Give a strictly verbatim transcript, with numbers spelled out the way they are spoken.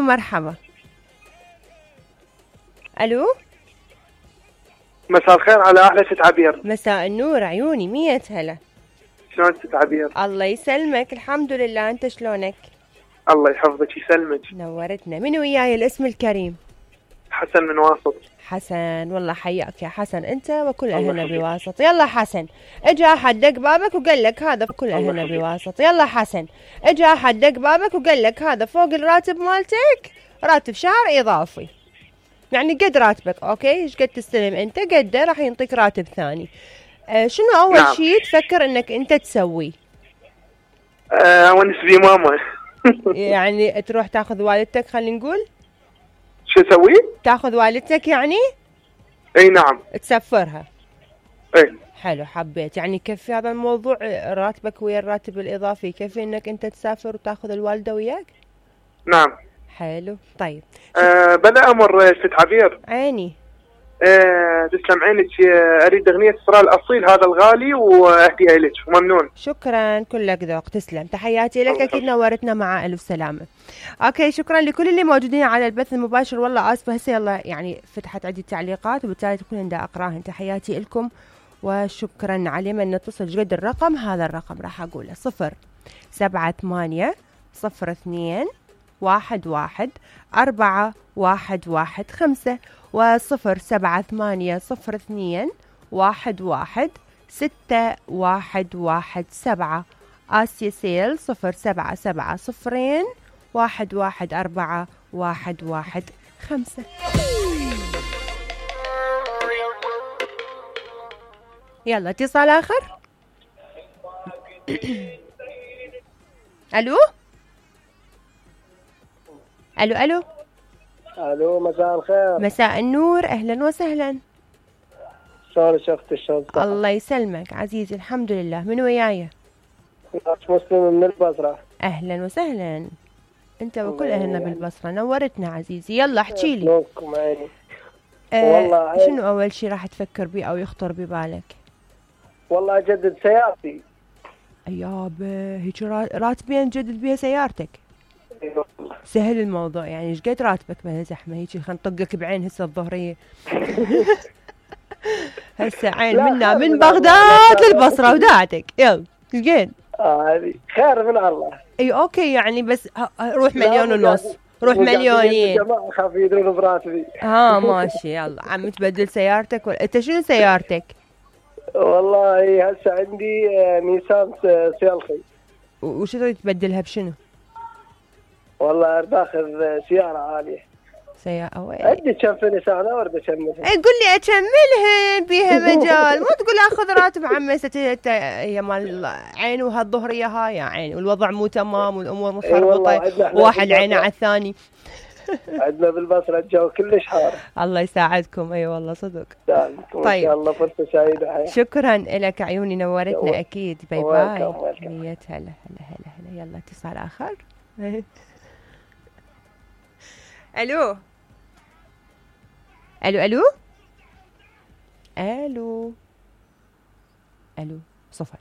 ومرحبا. الو مساء الخير على احلى ست عبير. مساء النور عيوني، مية هلا. شلون ست عبير؟ الله يسلمك، الحمد لله، انت شلونك؟ الله يحفظك يسلمك. نورتنا. من وياي الاسم الكريم؟ حسن من واسط. حسن، والله حياك يا حسن انت وكل اهلنا بواسط. يلا حسن، اجى احد دق بابك وقال لك هذا كل اهلنا بواسط. يلا حسن، اجى احد دق بابك وقال لك هذا فوق الراتب مالتك راتب شهر اضافي، يعني قد راتبك، اوكي، ايش قد تستلم انت قده راح ينطيك راتب ثاني. آه شنو اول نعم. شيء تفكر انك انت تسوي؟ آه ونس بي ماما. يعني تروح تاخذ والدتك، خلينا نقول شو اسوي؟ تاخذ والدتك يعني؟ اي نعم. تسفرها. اي حلو، حبيت يعني يكفي هذا الموضوع راتبك ويا الراتب الاضافي، يكفي انك انت تسافر وتاخذ الوالده وياك؟ نعم. حلو. طيب آه بلا امر ست عبير. عيني. آه تسلم عينك. آه اريد اغنيه اسراء الاصيل هذا الغالي واهديها لك وممنون. شكرا، كلك ذوق، تسلم، تحياتي لك، اكيد نورتنا مع الف سلامه. اوكي، شكرا لكل اللي موجودين على البث المباشر، والله اسفه هسه يلا يعني فتحت عندي تعليقات وبالتالي تكون عندها اقراهن. تحياتي لكم وشكرا. على من نتصل قد الرقم، هذا الرقم راح اقوله صفر سبعة ثمانية صفر اثنين واحد واحد أربعة واحد واحد خمسة وصفر سبعة ثمانية صفر اثنين واحد واحد ستة واحد واحد سبعة. آسيا سيل صفر سبعة سبعة صفرين واحد واحد أربعة واحد واحد خمسة. يلا اتصال آخر. ألو ألو ألو الو مساء الخير. مساء النور، أهلا وسهلا. شلونك اختي؟ شلون؟ الله يسلمك عزيزي، الحمد لله. من وياي؟ مسلم من البصرة. أهلا وسهلا، أنت وكل أهلنا بالبصرة، نورتنا عزيزي. يلا احكي لي. شلونكم عيني؟ آه والله شنو أول شي راح تفكر بيه أو يخطر ببالك؟ والله أجدد سيارتي. يابا هيك راتبين تجدد بيها سيارتك؟ ايوه سهل الموضوع يعني. ايش قد راتبك بلا زحمه هيك؟ خلينا نطقك بعين هسه الظهريه. هسه عين منا من بغداد للبصره وداعتك. يلا ايش قد؟ اه هذه خير من الله. اي اوكي يعني، بس روح مليون ونص، روح مليونين. الجماعه خاف يدرون براتبي. ها ماشي. يلا عم تبدل سيارتك ولا انت شنو سيارتك؟ والله هسه عندي نيسان سيلخي. وش تريد تبدلها بشنو؟ والله اريد اخذ سياره عاليه. سيارة وين؟ عندي كم في نيسان وارد اكملها. اي قول لي اكملها بيها مجال، مو تقول اخذ راتب عمي ست هي مال عين وهالظهريه هاي يا عين والوضع مو تمام والامور مخربطه وواحد عينه على الثاني. عندنا بالبصره الجو كلش حار. الله يساعدكم. اي والله صدق. طيب ان شاء الله فرصه سعيده. شكرا لك عيوني، نورتنا اكيد. باي باي. مية هلا هلا هلا هلا. يلا اتصال اخر. الو الو الو الو الو صفر.